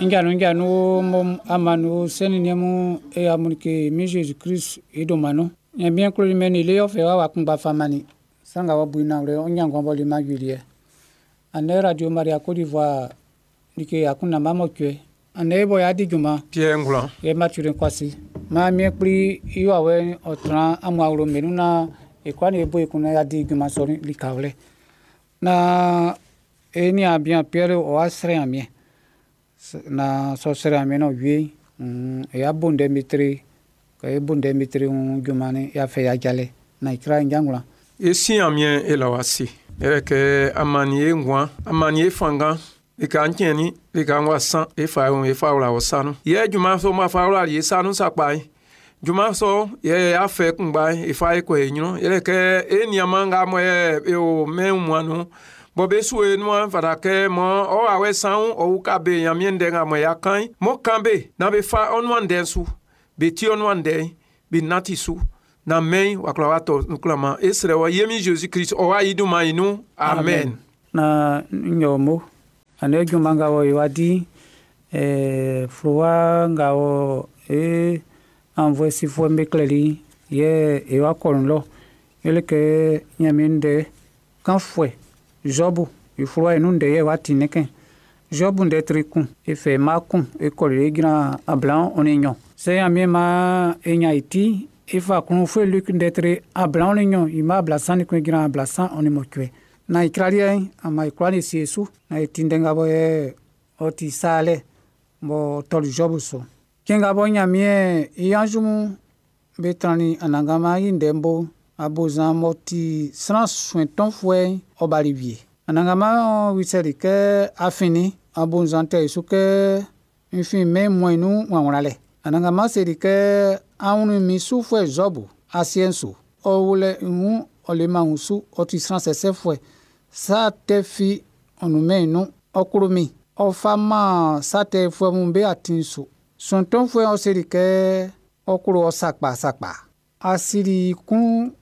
Nja nun mo amanu seni nemu e amunike mi Jésus Christ i dunman. Ɲanmiɛn kloli mɛn'n i lele ɔ fɛ i wa kunngba fa mannin. Sran nga b'ɔ bu i nanwlɛ ɔ́ ɲán nguan b'ɔ leman awieliɛ. Andɛ Radio Maria Côte d'Ivoire like akunndan ba mɔcuɛ. Andɛ e bɔ y'a di junman. Pierre Ngoulan. Yɛ Mathurin Kwasi. Maan Miɛn Kpli i wawɛ'n ɔ tran amun awlo'm be nun naan e kwlaa ni e bo ekun naan y'a di junman sɔ'n likawlɛ. Naan e niaan bian Pierre ɔ wa srɛ Ɲanmiɛn. Naan sɔ srɛ Ɲanmiɛn na ɔ wie e ya bo ndɛ mitre kɛ e bo ndɛ mitre junman'n y'a fɛ i ajalɛ na i kra njangwlan. E si Ɲanmiɛn e la wɔ ase. Yɛrɛ kɛ a mannin e nguan, a mannin e fanngan. Lika tiɛnnin, lika wa san, e fa e fa wla wɔ sa nun. Yɛ junman sɔ ma fa wlali e sa nun sakpa. Junman sɔ yɛ y'a fɛ kunngba e fa e kɔ e ɲrun. Yɛrɛ kɛ e nianman nga mɔ e o mɛn wunmuan nun. Bɔ be su e nuan fata kɛ mɔ ɔ awɛ sanwun ɔ uka be Ɲanmiɛn ndɛ nga mɔ y'a kan mɔ kan be na be fa ɔ nuan ndɛ'n su. Be ti ɔ nuan ndɛ'n, be nanti su. Na mɛn wa kla wa tɔ nklama e srɛ wɔ ye mi Jésus Christ ɔ wa yi dunman yi nun. Amen. Na nyɔ mo andɛ junman nga wɔ wa di fluwa nga wɔ e envoyé sifuɛ'm be klɛli yɛ e wa kɔ lɔ. Yɛlɛ kɛ Ɲanmiɛn ndɛ kanfuɛ Job i fluwa i nun ndɛ yɛ wa ti ne kɛn. Job ndɛ tri kun e fɛ ma kun e kɔli e jran 22. Sɛ Ɲanmiɛn ma e nya i ti e fa kun fue Luc ndɛ tri 22 i ma 31 jran 38. Na i kraliɛ ama i kwla ni sie su na i ti ndɛ nga bɔ yɛ ɔ ti saalɛ bɔ tɔli Job su. Cɛn nga bɔ Ɲanmiɛn i anzu mun be trannin Anannganman i ndɛ'n bo abozan m'ɔ ti sran suɛntɔnfuɛ'n ɔ bali wie. Anannganman wisɛli kɛ afin abozan tɛ i su kɛ n fin mɛn mɔn nun wanwlanlɛ. Anannganman seli kɛ awun min sufuɛ Job asiɛ'n su. Ɔ wulɛ wun ɔ leman wunsu ɔ ti sran sɛsɛfuɛ. Sa tɛ fi ɔ nunmɛn i nun ɔ klo min. Ɔ fa man sa tɛfuɛ mun be atin su. Suɛntɔnfuɛ'n ɔ seli kɛ ɔ klo ɔ sakpa sakpa. Asiri kun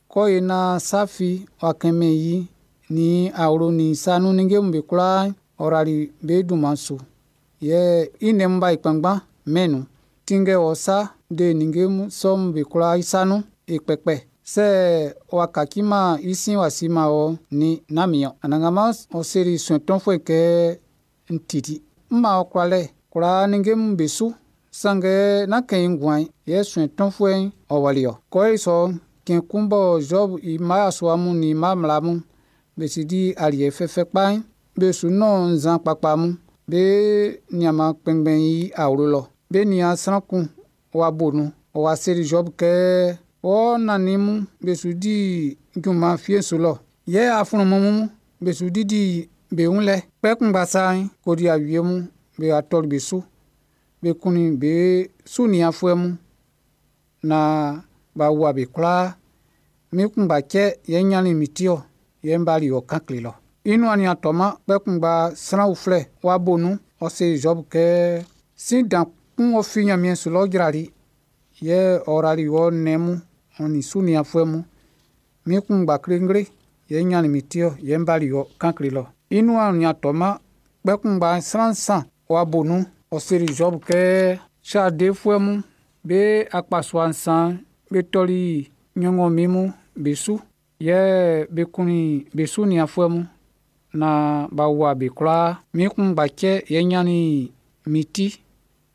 kɔ ye na safi wa kɛmɛ yi ni awlo ni sanu ninnge mun be kwlaa ɔ rali be dunman su. Yɛ i nnɛn'm b'a yi kpanngban mɛn nun. Tinngɛ wɔ sa de ninnge sɔ'm be kwlaa i sa nun e kpɛkpɛ. Sɛ wa kaciman i sin wa siman wɔ ni namiɔ. Anannganman ɔ seli suɛntɔnfuɛ kɛ n titi. M ma ɔ kwlalɛ kwlaa ninnge mun be su. Sanngɛ nán kɛn i nguan'n yɛ suɛntɔnfuɛ'n ɔ wɔli ɔ. Kɔ i sɔ cɛn kun bɔ Job i mma yasua mun nin mma mmla mun be si di aliɛ fɛfɛ kpa'n be su nɔn nzan kpakpa mun be nianman kpɛnngbɛn i awlo lɔ. Be nian sran kun wa bo nun. Ɔ wa seli Job kɛ wɔ nannin mun be su di junman fie'n su lɔ. Yɛ aflunmun mun be su didi be wun lɛ. Kpɛkun gbasa'n kodi awie mun be wa tɔli be su. Be kunnin be su nianfuɛ mun na b'a wua be kwlaa. Mi kunngba cɛ yɛ n ɲannin min ti ɔ yɛ n bali ɔ kan kle lɔ. I nuan nin a tɔman kpɛkun gba sran uflɛ wa bo nun ɔ seli Job kɛ sin dan kun ɔ fi Ɲanmiɛn su lɔ jrali yɛ ɔ rali wɔ nnɛn mun ɔ nin su nianfuɛ mun. Mi kunngba klengle yɛ n ɲannin min ti ɔ yɛ n bali ɔ kan kle lɔ. I nuan nin a tɔman kpɛkun gba sran nsan wa bo nun ɔ seli Job kɛ sadefuɛ mun be akpasua nsan be tɔli ɲɔnngɔnmin mun be su yɛ be kunnin be su nianfuɛ mun na b'a wua be kwlaa. Mi kunngba cɛ yɛ n ɲannin min ti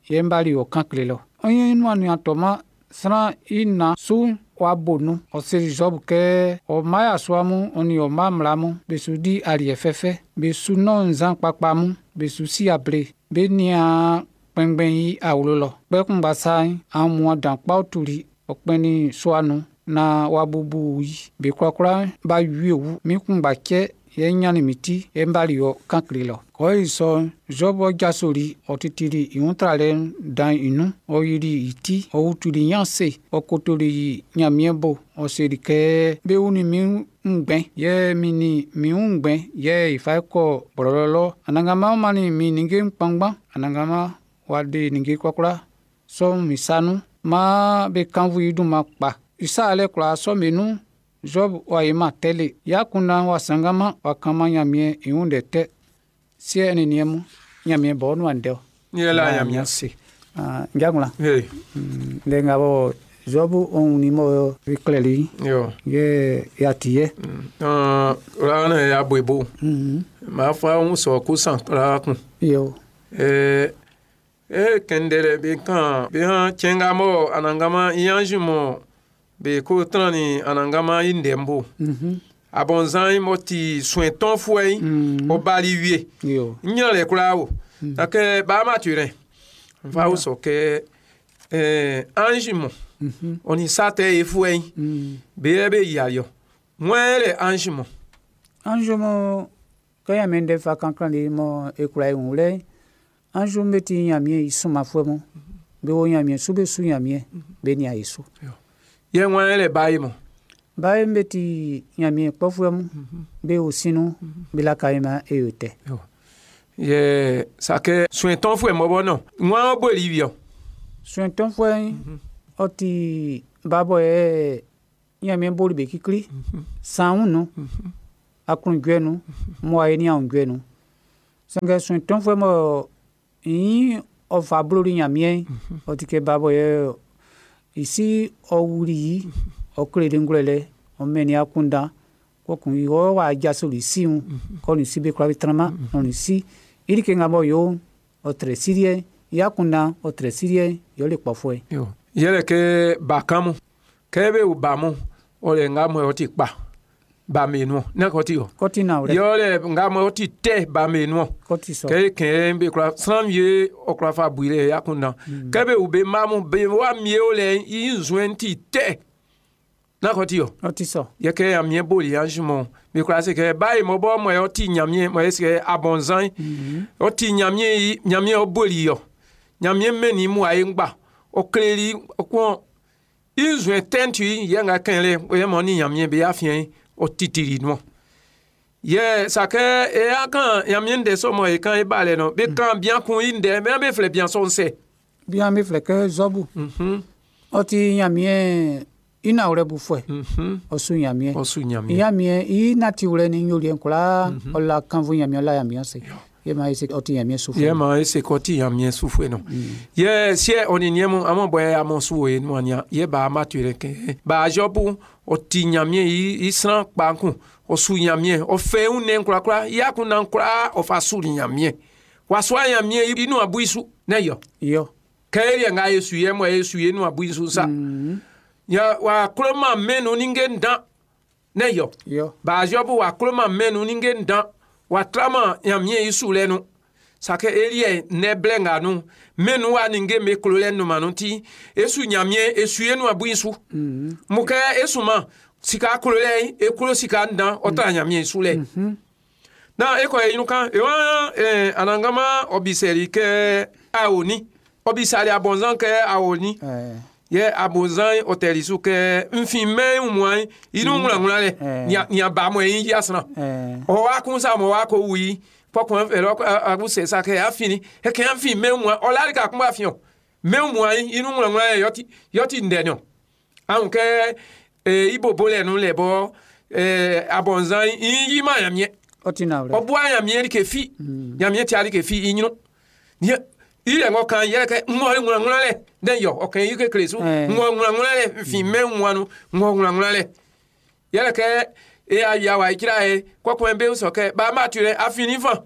yɛ n bali ɔ kan kle lɔ. Ɔ i nuan nin a tɔman sran i na su wa bo nun. Ɔ seli Job kɛ ɔ mma yasua mun ɔ nin ɔ mma mmla mun be su di aliɛ fɛfɛ. Be su nɔn nzan kpakpa mun. Be su si able. Be nian kpɛnngbɛn i awlo lɔ. Kpɛkun gbasa'n aunmuan dan kpa tuli ɔ kpɛnnin sua nun na wa bubu yi. Be kwlakwla b'a wie wu. Mi kunngba cɛ yɛ n ɲannin min ti yɛ n bali ɔ kan kle lɔ. Kɔ i sɔ'n Job jasoli ɔ titili i wun tralɛ'n dan i nun. Ɔ yili i ti ɔ wutuli ɲanse ɔ kotoli Ɲanmiɛn bo. Ɔ seli kɛ be wunnin min ngbɛn yɛ min nin min wun ngbɛn yɛ i fa kɔ blɔlɔ lɔ. Anannganman mannin min ninnge kpanngban. Anannganman wa de ninnge kwlakwla sɔ'n min sa nun. Maan be kannvu i dunman kpa. I sa alɛ kwlaa sɔ'n be nun Job wa yi ma tɛle. Ya kundan wa sannganman wa kanman Ɲanmiɛn i wun ndɛ tɛ. Siɛ nin niɛn mun Ɲanmiɛn bɔ nuan ndɛ o. Yɛ la Ɲanmiɛn se. Ah, Njagula. Hey. Ndɛ nga bɔ Zɔbu ɔn ni mɔ i klɛli. Yo. Yɛ ya ti yɛ. Ɔn la ya bo. Ma fa un so ku san la kun. Yo. E kendere be kan be han chenga mo anangama iyanju mo be ko tran ni anangama indembo. Abonzan mo ti soin ton foué o bali wie. Yo. Nyan le kula o. Ake ba ma turen. Fa o so ke ange mo. Oni sate e foué. Be be yayo. Mwen le ange mo. Ange mo kaya mende fa kankan li mo e kula e wule. Ange mo ti nyamie isu ma foué mo. Be wo nyamie su be su nyamie be ni a isu. Ye mwen le bayi mo. Bayi mbe ti nyamie kpɔfoué mo. Be o sinu be la kaima e yote. Ye sake soin ton foué mo bono. Mwen bo li vio. Soin ton foué o ti babo e nyamie boli be kikli. San nu. Akun gwe nu. Mo aye ni an gwe nu. Sange soin ton foué mo yin o fa blori nyamie o ti ke babo ye isi o wuli yi o kle de ngulele o meni akunda ko kun yi o wa jasoli siun ko ni sibe kwa bitrama on ni si iri ke ngamo yo o tre sirie ya kunda o tre sirie yo le pofo Yo. Yele ke bakamu. Ke be u bamu o le ngamo o ti pa. Ba me nu na ko ti o. ko ti na ore Yo le ngamo o ti te ba me nu. ko ti so Ke ke be kura san ye o kura fa buile ya kunda. Ke be u be mamu be wa mie o le i nzwen ti te. Na ko ti o. o ti so Ye ke ya mie boli ya jumo. Be kura se ke ba mo bo mo o ti nyamie mo se abonzan. O ti nyamie yi nyamie o boli yo. Nyamie meni mu aye ngba. O kleri o kon inzwen tentu ye nga kenle o ye mo ni nyamie be ya fien o titiri no. Ye sake e akan nyamie nde so mo e kan e bale no. Be kan bien kun inde me be fle bien son se. bien mi fle ke zobu o ti nyamie ina ore bu fwe o su nyamie O su nyamie. nyamie i na ti ure ni nyoli nkola o la kanvu nyamie la nyamie se ye ma ese o ti nyamie su Ye ma ese koti nyamie su fwe no. Ye sie oni niemu amon boye amon su e no anya. Ye ba ma tu ke. Ba jobu o ti nyamie i sran pa kun. O su nyamie o fe un ne nkura kura. Ya kun na nkura o fa su nyamie. Wa su nyamie inu abu isu ne yo. yo Kere nga yesu ye mo yesu ye nu abu isu sa. Ya wa kroma menu ninge ndan ne yo. yo Ba jobu wa kroma menu ninge ndan. Wa trama nyamie isu lenu. Sake elie ne blenga nu. Menu wa ninge me klole nu manuti. Esu nyamie esu ye nu abu isu. Muke esu ma sika klole e klo sika ndan ota nyamie isu le. Na eko e inu kan e wa anangama obiseri ke aoni. Obisari abonzan ke aoni. Ye abonzan otelisu ke nfin me umwan inu ngula ngula le. Nya ba mo yin yasna. O wa kun sa mo wa ko wi. Pokun e lo abu se sa ke afini. E ke afin me umwan o la ka kun ba fion. Me umwan inu ngula ngula le yoti ndenyo. Ahun ke ibobo le nu le bo abonzan yin yi ma yamie. o ti na ore O bu ayamie ke fi. Yamie ti ali ke fi yin nu. Ni ile ngo kan yele ke ngo ngula ngula le. Den yo o kan yi ke klesu. Ngo ngula ngula le fi me nwanu ngo ngula ngula le. Yele ke e aya wa ikira e kokun be so ke ba ma tu le afini fan.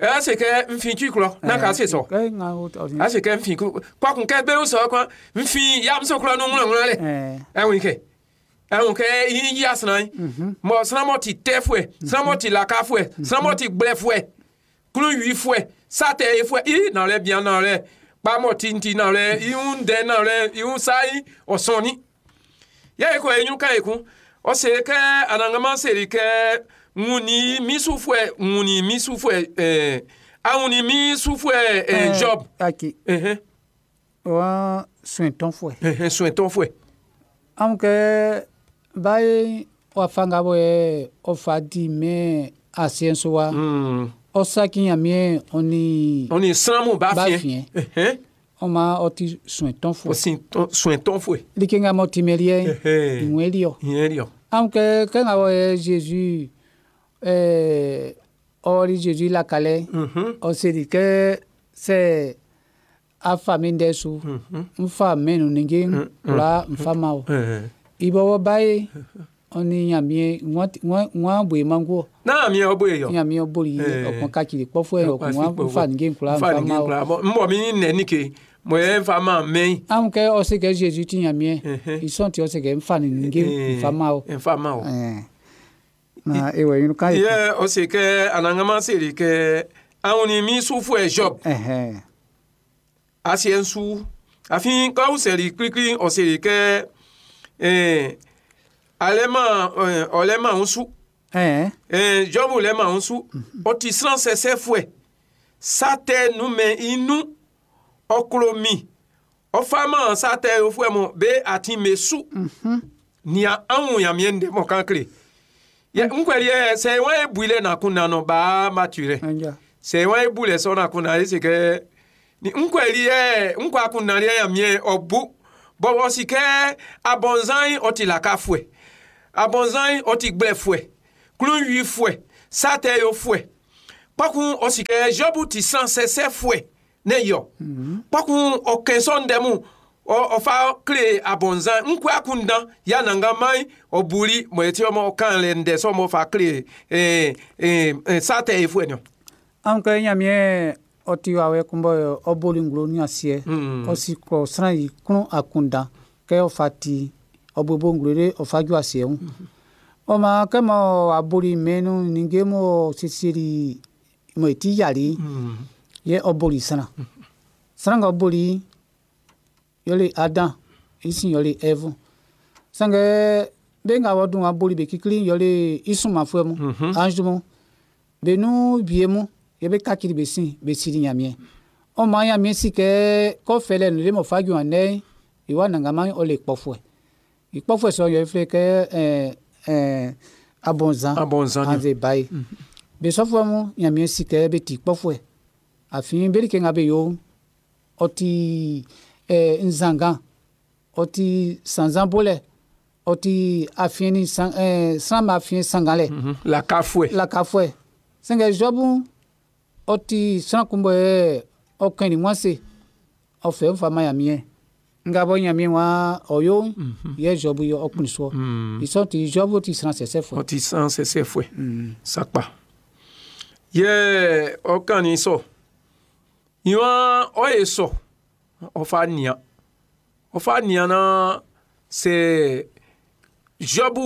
E se ke nfin tu klo na ka se so. ke nga o ti A se ke nfin kokun ke be so kan nfin ya mso klo nu ngula ngula le. E win ke. E won ke yin yi asran. Mo sran mo ti te fue, sran mo ti la ka fue, sran mo ti gble fue. Klu yu fue, sa te e fue, i nan le bien nan le. Pa mo ti nti nan le, i un de nan le, i un sa yi o son ni. Ye ko e yun kan ekun. O se ke anangama se ri ke nguni mi su fue, nguni mi su fue awuni mi su fue job. Aki wa soin ton fwe Soin ton fue. Aunque bai o fanga bo e o fa di me asienso wa o sa ki nyamie oni Oni sran mu ba Ba fien. fien. O ma o ti soin ton O fwe sin ton soin ton fue. Like nga mo ti melie inwe lio. Yen lio. Aunque ke nga bo e Jésus ori Jésus la kale o se di ke Sɛ a fa min ndɛ su, n fa mɛn nun ninnge'n kwlaa n fa man wɔ. I bɔbɔ bae, ɔ nin Ɲanmiɛn wan bu e mango. Na mi o bo e yo. Ɲanmiɛn boli ɔkun kacili kpɔfuɛ ɔkun wan fa ninnge'n kwlaa n fa fa man ninnge'n wɔ. Kwlaa. N bɔ mi nɛ ni ke mo ye fa ma mɛn. An kɛ ɔ se kɛ Jésus ti Ɲanmiɛn. I sɔ'n ti ɔ se kɛ n fa ninnge'n n fa man wɔ. N fa man wɔ. Na e wɔ ɲrun kan ye. Yɛ ɔ se kɛ Anannganman seli kɛ anw ni mi sufuɛ Job asiɛ'n su afin k'aw sɛli klikli ɔ seli kɛ alɛ ma ɔlɛ ma ń su. Job lɛ ma ń su ɔ ti sran sɛsɛfuɛ sa tɛ numɛn i nun ɔ klo mi ɔ fa ma sa tɛ yofuɛ mɔ be atin me su nia anw Ɲanmiɛn ndɛ mɔ kan kle yɛ nkwɛli yɛ sɛ wɔn ye bui lɛ na kun na nɔ baa ma tu rɛ sɛ wɔn ye bu lɛ sɔ na kun na ese kɛ ni nkwɛli yɛ nkɔ akun na yɛ Ɲanmiɛn ɔ bu bɔn ɔ si kɛ abɔnzan ɔ ti lakafuɛ abɔnzan ɔ ti gblɛfuɛ klunwifuɛ sa tɛ yofuɛ kpɔkun ɔ si kɛ Job ti sran sɛsɛfuɛ ne yɔ kpɔkun ɔ kɛnsɔn ndɛ mu ɔ fa kle abɔnzan nkɔ akun dan ya nangaman ɔ buli mɔ eti ɔmɔ kan lɛ ndɛ sɔ mɔ fa kle sa tɛ yofuɛ niɔ. An kɛ Ɲanmiɛn ɔ ti wawɛ kun bɔ ɔ boli nglo ni asiɛ. Ɔ si klɔ sran yi klun akunndan kɛ ɔ fa ti ɔ bobo nglo de ɔ fa ju asiɛ wun. Ɔ ma kɛ mɔ a boli mɛn nun ninnge mɔ sesieli mɔ i ti yali yɛ ɔ boli sran. Sran nga ɔ boli yɔle Adam i sin yɔle Ɛvu. Sanngɛ be nga wɔ dun wa boli be kikli yɔle i sunmanfuɛ mun, ange mun. Be nun wie mun yɛ be kacili be sin be sili Ɲanmiɛn. Ɔ ma Ɲanmiɛn si kɛ kɔfɛ lɛ nu le mɔ fa ju andɛ i wa nangaman ɔ le kpɔfuɛ. I kpɔfuɛ sɔ yɔ filɛ kɛ abɔnzan. Abɔnzan. Anze bae. Be sɔfuɛ mun Ɲanmiɛn si kɛ be ti kpɔfuɛ. Afin be like nga be yo ɔ ti nzangan, ɔ ti sanzan bolɛ, ɔ ti afiɛn ni san sran ma afiɛn sangan lɛ. Lakafuɛ. Lakafuɛ. Sanngɛ Job ɔ ti sran kun bɔ ɔ kɛn ni wan se ɔ fɛ fa ma Ɲanmiɛn. Nga bɔ Ɲanmiɛn wa ɔ yo yɛ Job yɛ ɔ kpin soɔ. I sɔn ti Job ti sran sɛsɛfuɛ. Ɔ ti sran sɛsɛfuɛ. Sakpa. Yɛ ɔ kan ni sɔ. Iwan ɔ ye sɔ ɔ fa nia. Ɔ fa nia na sɛ Job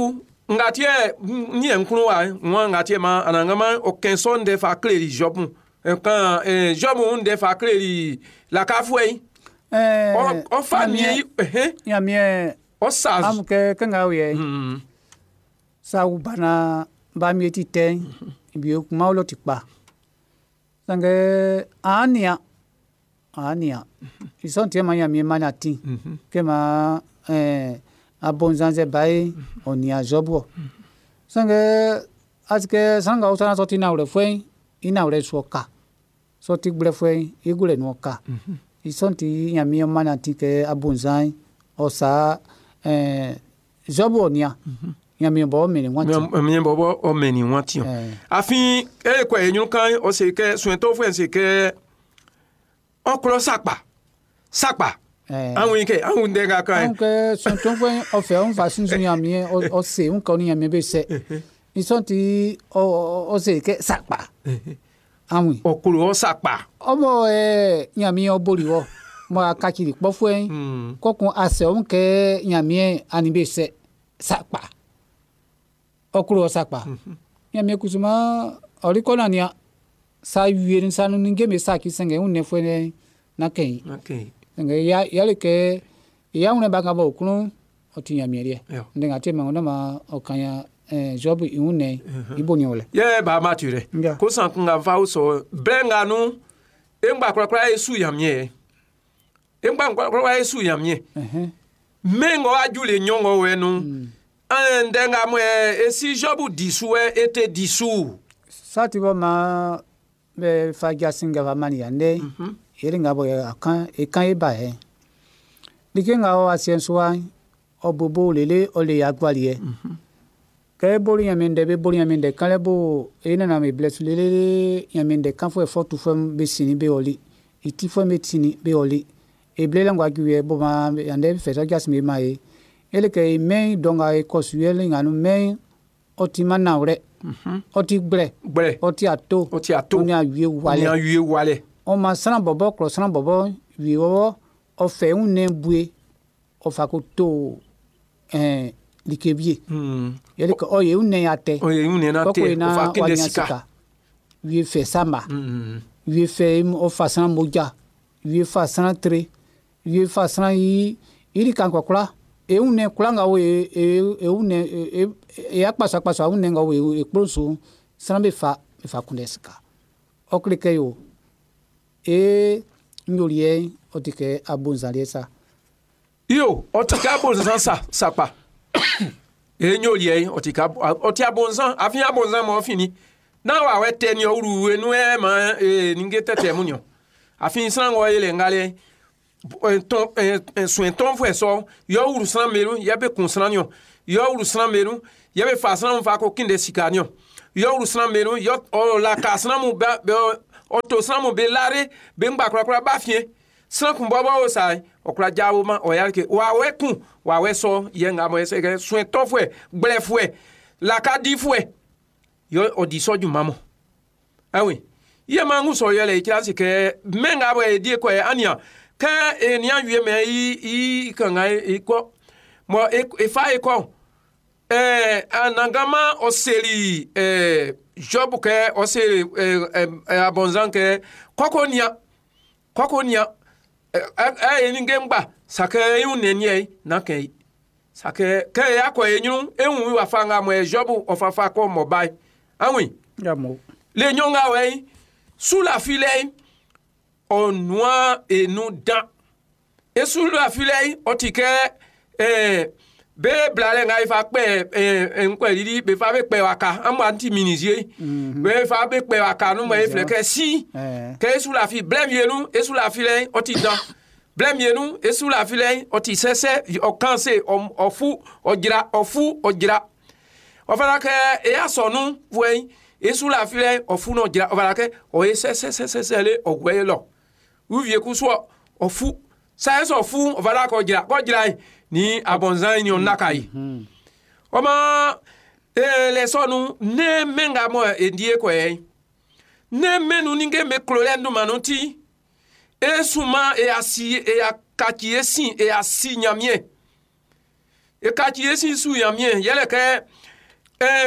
nga tiɛ ni yɛ nkunu wa wọn nga tiɛ ma anangama ɔ kɛnsɔ ndɛ fa kleli Job kan Job ndɛ fa kleli lakafuɛ yi. Ɔ fa nia yi. Ɲanmiɛn Ɔ sa. Amu kɛ kɛ nga yɛ sa bana ba mi ti tɛ bi kuma lo ti kpa. Sanngɛ an nia an nia i sɔn tiɛ ma Ɲanmiɛn ma na ti kɛ ma abɔnzan bae ɔ nia Job wɔ. Sanngɛ asike sran nga wosana sɔ ti nawlɛfuɛ i nawlɛ su ka sɔ ti gblɛfuɛ i gblɛ nu ka. I sɔn ti Ɲanmiɛn ma na ti kɛ abɔnzan ɔ sa Job ɔ nia Ɲanmiɛn bɔ mɛni wan ti. Ɲanmiɛn bɔbɔ ɔ mɛni wan ti. Afin e kɔ enyun kan ɔ se kɛ suɛntɔfuɛ se kɛ ɔklɔ sakpa sakpa. Anw yi kɛ anw dɛ ka kan ye. Anw kɛ suɛntɔfuɛ ɔfɛ ɔn fa sunsun Ɲanmiɛn ɔ se ń kɔ ni Ɲanmiɛn bɛ sɛ. I sɔn ti ɔ se kɛ sakpa. Anw yi. Ɔklo ɔ sakpa. Ɔmɔ Ɲanmiɛn ɔ boli wɔ mɔ a kacili kpɔfuɛ kɔkun asɛ ɔn kɛ Ɲanmiɛn ani bɛ sɛ sakpa. Ɔklo ɔ sakpa. Ɲanmiɛn kusuma ɔli kɔna nia sa wie sanu ni geme sa ki sɛngɛ ń nɛfɛ na kɛn. Sɛngɛ ya yali kɛ ya ŋun ba ka bɔ okulun ɔ ti Ɲanmiɛn liɛ. Ndɛ ŋa te ma ŋun ma ɔ kan ya Job i ŋun nɛ i bo ni o lɛ. Yɛ ba ma tu rɛ. Ko san kun ka fa sɔ bɛɛ ŋa nu e ŋgba kurakura ye su Ɲanmiɛn yɛ. E ŋgba kurakura ye su Ɲanmiɛn. Mɛ ŋɔ aju le ɲɔgɔn wɛ nu. An ndɛ ŋa mɔ yɛ esi Job disu yɛ e te disu. Sati bɔ ma bɛ fa jasin ga mani ya ndɛ yɛrɛ ŋa bɔ a kan e kan e ba yɛ. Like ŋa ɔ asiɛ suwa ɔ bobo lele ɔ le ya gbali yɛ. Kɛ boli Ɲanmiɛn ndɛ bɛ boli Ɲanmiɛn ndɛ kan lɛ bo e nana mi blɛ su lele Ɲanmiɛn ndɛ kan fɔ fɔ tu fɔ bɛ sini bɛ ɔli. I tifuɛ'm be tinnin be ɔli. E blɛ lɛ ngwa ju yɛ bɔ ma andɛ fɛ sɔ jasin be man e. Yɛle kɛ e mɛn dɔ nga e kɔ su yɛ le nga nun mɛn ɔ timan nanwlɛ. Ɔ ti gblɛ. Gblɛ. Ɔ ti ato. Ɔ ti ato. Ɔ ni awie Ni walɛ. awie walɛ. Ɔ ma sran bɔbɔ klɔ sran bɔbɔ wie bɔbɔ ɔ fɛ i wunnɛn bue ɔ fa ko to like wie. Yɛle kɛ ɔ ye i wunnɛn atɛ. O ye wunnɛn atɛ. Kɔkɔ O fa na kinde wa nya sika. sika. Wie fɛ sama. Wie fɛ ɔ fa sran moja. Wie fa sran tre. Wie fa sran yi iri kan kɔkɔla. E wunnɛn kula nga wo e e e wunnɛn e e e akpaso akpaso a wunnɛn nga wo e e kplo su sran be fa be fa kunndɛ sika. Ɔ kle kɛ yo e nyoliɛ ɔ ti kɛ abonzaliɛ sa. Iyo, ɔ ti kɛ abonzan sa sakpa. E nyoliɛ ɔ ti kɛ ɔ ti abonzan afi abonzan mɔ fini. Na wa wɛ tɛ ni ɔwuru enu ɛ ma e ninge tɛtɛ mu niɔ. Afi sran wɔ yɛlɛ ŋgalɛ tɔn suɛtɔn fɛ sɔ yɔ wuru sran melu yɛ be kun sran niɔ. Yɔ wuru sran melu yɛ be fa sran mu fa ko kinde sika niɔ. Yɔ wuru sran melu yɔ ɔ la ka sran mu ba bɛ ɔ to sran mu be lare be ŋgba kurakura ba fiɛ. Sran kun bɔbɔ wo sa ɔkura dzawo ma ɔya ke wa wɛ kun wa wɛ sɔ yɛ ŋa mɔ ɛsɛ kɛ suɛtɔn fɛ gblɛ fɛ lakadi fɛ yɔ ɔdi sɔdzu mamɔ awi yɛ ma ŋu sɔ yɛ lɛ etsira si kɛ mɛ ŋa bɔ edi kɔ yɛ ania kɛ enia yue mɛ yi yi kanga yi kɔ mɔ efa yi kɔ anagama ɔseli Job kɛ ɔseli ɛɛ abɔnzan kɛ kɔkɔ nia kɔkɔ nia ɛ ɛ eni ŋgba sakɛ eŋu neniɛ na kɛ yi sakɛ kɛ ya kɔ enyunu eŋu wa fa ŋa mɔ yɛ Job ɔfafa kɔ mɔ ba yi awi Ya mo. le nyɔnga wɛ yi su la fi lɛ yi ɔnua enu dan esu la fi lɛ yi ɔti kɛ be bla lɛ ŋa yi fa kpɛ ŋkɔe didi be fa be kpɛ wa ka amu anti minizie be fa be kpɛ wa ka nu mɔ eflɛ kɛ si kɛ esu la fi blɛ mienu esu la fi lɛ yi ɔti dan blɛ mienu esu la fi lɛ yi ɔti sɛsɛ ɔkanse ɔfu ɔdzra ɔfu ɔdzra ɔfana kɛ eya sɔnu fue yi esu la fi lɛ ɔfu nɔ dzra ɔfana kɛ ɔye sɛsɛsɛsɛ le ɔgbɛ ye lɔ uvie kusɔ ɔfu sayɛsɛ ɔfu ɔfana kɔ dzra kɔ dzra yi ni abɔnzan yi ni ɔnaka yi ɔmɔ lɛ sɔnu ne mɛnga mɔ edie kɔ yɛ ne mɛnu ni ke me klo lɛ ndumanu ti esuma eyasi eyakatsi esi eyasi nyamie ekatsi esi su nyamie yɛlɛ kɛ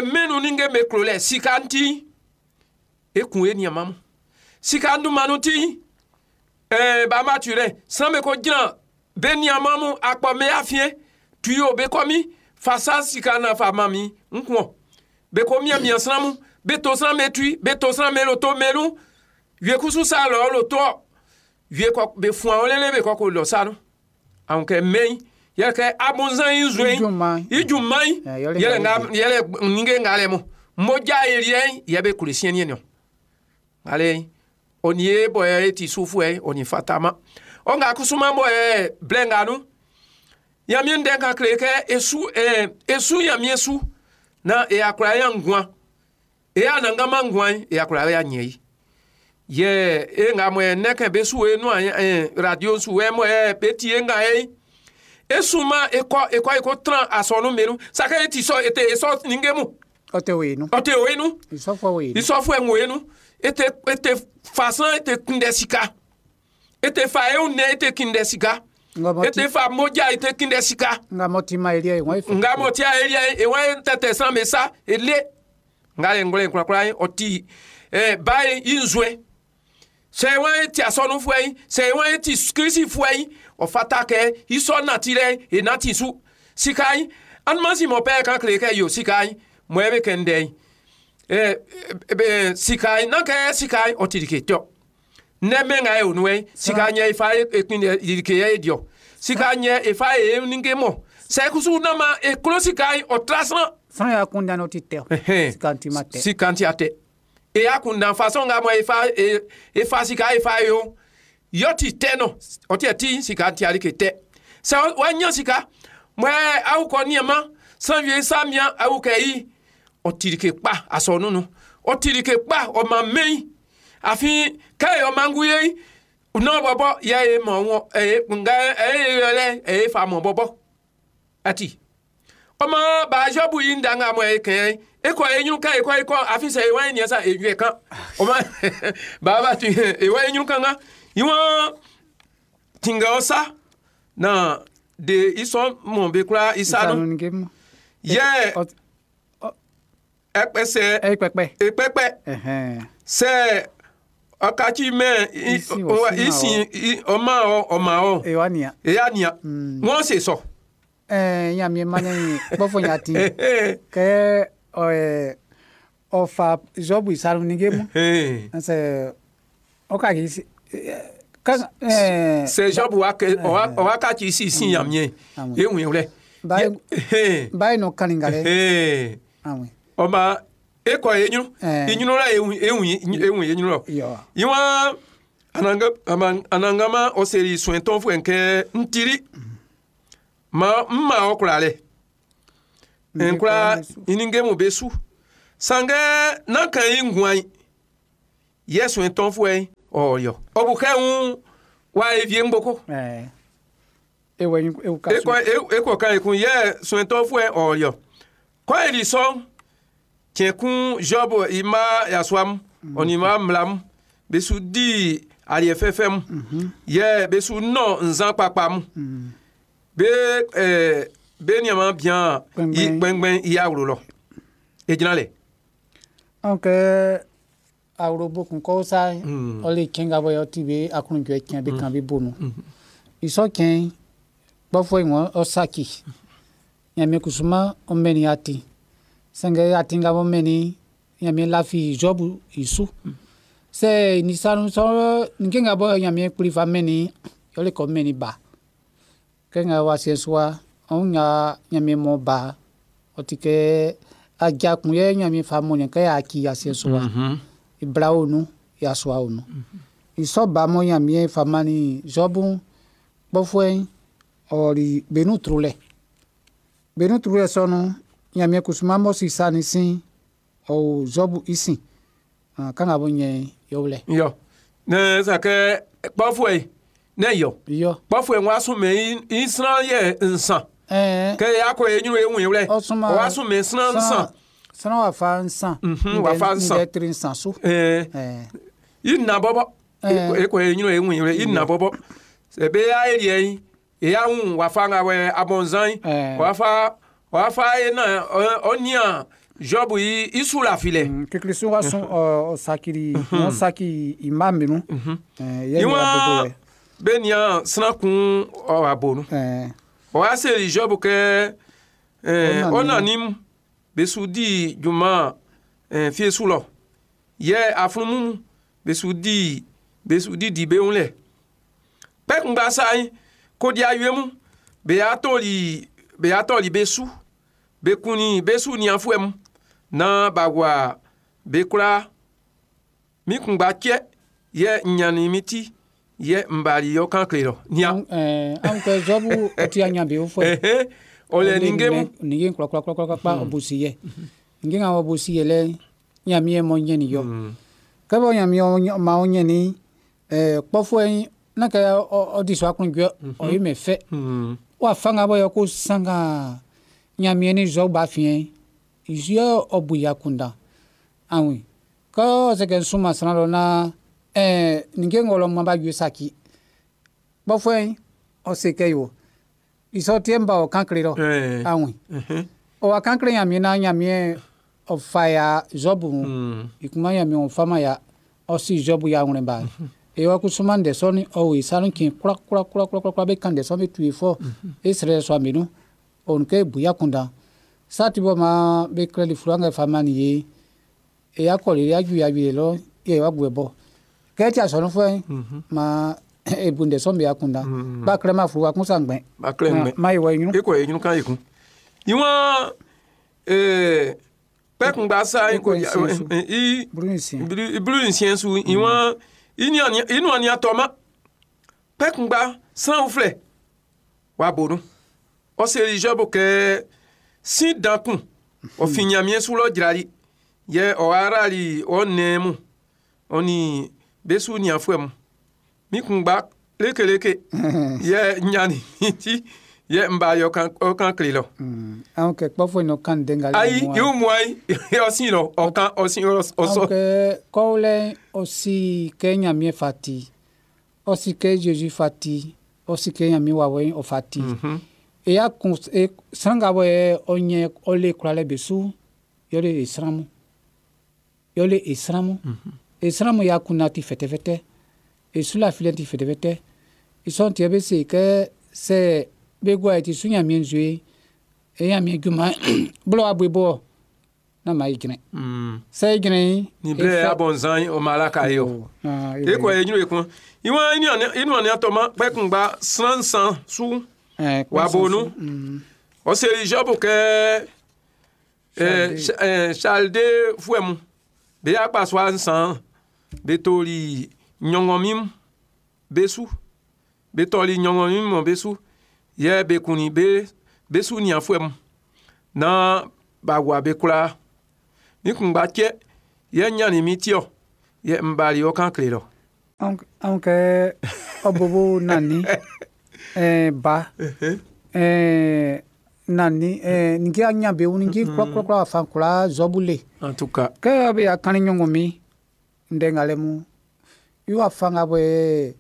mɛnu ni ke me klo lɛ sika ŋuti ekun eniamamu sika ndumanu ti bama tu lɛ san ko dzina be niamamu akpɔme afie tuyo be kɔmi fasa sika na fa mami ŋkuɔ be ko miamia sramu be to sran me tui be to sran me lo to melu vie kusu sa lɔ lo tɔ vie kɔ be fún àwọn lélẹ̀ be kɔ ko lɔ sanu àwọn kɛ mɛyi yɛlɛ kɛ abonzan yi zoe Ijuma. ijuma yi Eh, yɔlɛ yɛlɛ ŋa ŋa yɛlɛ ninge ŋa lɛ mo modza elie yɛ be kule siɛ niɛ ale oni ye bɔ yɛ ti sufu yɛ oni fatama ɔŋa kusuma bɔ yɛ blɛ ŋa nu yamie ŋdɛ kan kle kɛ esu esu yamie su na eyakura ya ŋgua eya nangama ŋgua yi eyakura ya nye yi yɛ e ŋa mɔ yɛ nɛkɛ be su ye nua radio su yɛ mɔ yɛ be ti ye ŋa yɛ yi esuma ekɔ ekɔ eko tran asɔnu menu sake eti sɔ ete esɔ ninge mu Ɔtɛ wo enu. ɔte o enu Isɔfɔ wo enu. isɔfo ɛŋo enu ete ete fasan ete kundɛ sika ete fa ewu nɛ ete kundɛ sika Nga mɔ ti ete fa modza ete kundɛ sika nga mɔ ti ma elia ye wɔn efe. nga mɔ tia elia ewa tɛtɛ san me sa ele nga le ŋgɔle kurakura yi ɔti ba yi yi nzue sɛ wa yi ti asɔnu fue yi sɛ wa yi ti kirisi fue yi ɔfata kɛ isɔ nati lɛ enati su sika yi anumasi mɔ pɛ kan kile kɛ yo sika yi mɔ ebe kɛ ŋdɛ yi sika yi nan kɛ sika yi ɔti like tɔ nɛmɛ ŋa ye onue yi sika nyɛ ifa ekun like yɛ ediɔ sika nyɛ ifa ye ninge mɔ sɛkusu nama eklo sika yi ɔtra srã Sran ya kun dan ɔti tɛ. Sika ti ma tɛ. sika ti a tɛ eya kun dan façon ŋa mɔ efa efa sika efa yo yɔ ti tɛ nɔ ɔti yɛ ti sika ti ali ke tɛ sɛ wa nya sika mɔ awu kɔ niama san vie sa mia awu kɛ yi ɔti like kpa asɔ nunu ɔti like kpa ɔma mɛyi afi kɛ ɔmangu ye N'o bɔbɔ yɛ ye mɔ wɔ ɛyɛ nga ɛyɛ yɛlɛ ɛyɛ fa mɔ bɔbɔ ati ɔmɔ baazɔbu yi ń danga mɔ ɛyɛ kɛn ekɔ enyunu kan ekɔ ekɔ afisɛ ewa yi niɛsa enyuɛ kan ɔmɔ baba ti ewa enyunu kan ŋa iwọn tinga ɔsa na de isɔn mɔ be kura isa nu yɛ ɛkpɛsɛ Ekpekpe. ekpɛkpɛ sɛ ɔkatsi mɛ Isi wɔ si ma isi ɔma ɔ ɔma ɔ Ewa nia. eya nia wọn se sɔ. Nyamie mane gbɔfɔ nyati. Kɛ ɔɛ ɔfa Zɔbu isaru nige mu. Ɛsɛ ɔka ki si ka sɛ Zɔbu wa kɛ ɔwa katsi si si yamie Amen. ehun lɛ. Bayi nɔ kaninga lɛ. Amen. Ɔma ekɔ enyunu enyunu la ehun ehun ehun enyunu lɔ. Yɔ. Iwọn anangama ɔseri suɛntɔn fún ɛnkɛ ntiri ma mma ɔkura lɛ nkura inige mu be su sangɛ n'kan yi nguan yi yɛ suɛntɔn fún ɛ ɔyɔ ɔbukɛ ń wa evie ŋgboko Ewe ewu ka ekɔ ekɔ kan ekun yɛ suɛntɔn fún ɛ ɔyɔ kɔ eri sɔn tiɛkun Job ima yasuam ɔnima mlam besu di aliɛ fɛfɛ mu yɛ besu nɔ nzan kpakpa mu be be niama bian i Gbɛngbɛn. gbɛngbɛn i awuro lɔ edzina lɛ. Anw kɛ awrobo kun kɔ sa ɔle tiɲɛ ka bɔ yɔ ti be akunjɔ tiɲɛ be kan be bonu. Isɔ tiɲɛ gbɔfɔ yi ŋɔ ɔsaki. Nyame kusuma ɔmɛni ati. Sɛngɛ ati ka bɔ mɛni nyame lafi Zɔbu isu. Sɛ nisanu sɔ nke ka bɔ nyame kpli fa mɛni yɔle kɔ mɛni ba. Kɛ ŋa wa se sua ɔn ŋa nyame mɔ ba. Ɔti kɛ adza kun yɛ nyame fa mɔ ne kɛ aki ase sua. Ibra onu yasua onu. Isɔ ba mɔ nyame fa mani Zɔbu gbɔfɔe ɔri benu tru lɛ. Benu tru lɛ sɔnu nyame kusuma mɔ sisa ni si ɔwò Zɔbu isi. Kan ka bɔ nyɛ yɔwlɛ. Yɔ ne sakɛ kpɔfɔ yi ne yɔ Yɔ. kpɔfɔ yi wa sún mɛ i sran yɛ nsan Ɛɛ kɛ akɔ enyunu ehun yi lɛ ɔsuma wa sún mɛ sran nsan Sran wa fa nsan. Wa fa nsan. Ndɛ tri nsan so. Ɛɛ Ɛɛ i na bɔbɔ ekɔ enyunu ehun yi lɛ i na bɔbɔ sɛbɛ ya eliɛ yi eya ŋu wa fa ŋa wɛ abɔnzan yi wa fa wa fa ye na ɔnia Job yi isu la fi lɛ. Kekele wa sɔn ɔ ɔsakiri wọn saki ima minu. Ɛɛ yɛ Iwọn ni abobo lɛ. bɛ nia sran kun ɔ abonu. Ɛɛ Ɔwa seli Job kɛ Ɔna ɔnanim besu di juma fiesu lɔ yɛ afunumu besu di besu di di beŋu lɛ kpɛkungba sa yi kodi ayue mu be ya tɔli be ya tɔli besu bekuni besu niafuɛ mu na bagua bekura mi kungba tsɛ yɛ nyani mi ti yɛ nbali yɔ kan kle lɔ nia. Ɛɛ anw kɛ Zɔbu ɔti anyabe wo fɔ. Ehe, ɔlɛ ninge mu. Ninge kura kura kura kura ɔbosi yɛ. Ninge ŋa ɔbosi yɛ lɛ nyami yɛ mɔ nyɛ ni yɔ. Kɛbɔ nyami yɛ ma nyɛ ni ɛɛ kpɔfɔ n'a kɛ ɔdi sɔ akunjɔ ɔyi mɛ fɛ. Wa fanga bɔ yɛ ko sanga nyami yɛ ni Zɔbu ba fiɛ isu ɔbu ya kunda. Awi kɔ ɔsɛ kɛ nsuma sran lɔ na ɛɛ ninge ŋɔlɔ ma ba yue saki. Kpɔfɔ ɔsɛ kɛ yo isɔ tiɛ ba ɔ kan kle lɔ. Awi ɔwa kan kle nyami na nyami ɔfa ya Zɔbu mu. Ikuma nyami ɔfa ya ɔsi Zɔbu ya ŋlɛ ba. Ewa kusuma ndɛ sɔni ɔwò isanu kin kura kura kura kura kura be kan ndɛ sɔni tu ifɔ esrɛ sɔ aminu onke buya kunda. Sati bɔ ma be klɛli furu ŋa fa ma ni ye eya kɔli ya ju ya ju lɔ ye wa gbɛ bɔ kɛti asɔnu fɛ ma ebu ndɛ sɔn be ya kunda. Ba klɛ ma furu wa kun sa ŋgbɛ. Ba klɛ ŋgbɛ. Ma ye wɔ enyunu. Ekɔ enyunu kan yekun. Iwọn kpɛkungba sa Ekɔ ko nsiɛn su. I Buru nsiɛn. Bulu nsiɛn su iwọn inu ani atɔma kpɛkungba sran filɛ wa bonu ɔseri Job kɛ si dankun ɔfi nyamie su lɔ dzrali yɛ ɔwarali ɔnɛmu ɔni besu niafuɛ mu. Mi kunngba lekeleke yɛ n ɲannin min ti yɛ n bali ɔ kan kle lɔ. Anw kɛ kpɔfuɛ no kan ndɛ nga Ayi, i wun ayi, ɔ sin lɔ, ɔ kan, ɔ sin, ɔ sɔ. Anw kɛ kɔwlɛ ɔ si kɛ Ɲanmiɛn fa ti, ɔ si kɛ Jésus fa ti, ɔ si kɛ Ɲanmiɛn wawɛ'n ɔ fa ti. E y'a kun e sran nga bɔ yɛ ɔ ɲɛ ɔ le kwlalɛ be su, yɔ le e sran mun. Yɔ le e sran mun. E sran mun y'a kunna ti fɛtɛfɛtɛ. E su lafilɛ ti fɛtɛfɛtɛ. I sɔ'n ti yɛ be se kɛ sɛ be gua e ti su Ɲanmiɛn nzue, e Ɲanmiɛn junman blɔ wa bue bɔ na ma e jrɛn. Sɛ e jrɛn Ni blɛ abɔnzan o malaka ye o. E kɔ e ɲinu e kun. Iwan inu ani atɔma kpɛ kunngba sran san su wa bonu. Ɔ seli Jɔbu kɛ Chalde fuɛ mu. Be akpasua nsan be toli ɲɔngɔnmin be su. Be tɔli ɲɔngɔnmin mɔ be su. Yɛ be kunnin be su nianfuɛ mu. Na ba wa be kwlaa. Mi kunngba cɛ yɛ n ɲannin min ti ɔ. Yɛ n bali ɔ kan kle lɔ. Anw kɛ ɔ bobo nani ba nani ninki a ɲa be ninki kura kura kura fan kura zɔbu le. En tout cas. Kɛ be a kanni ɲɔgɔn min ndɛ ngalɛ mu i wa fanga bɔ.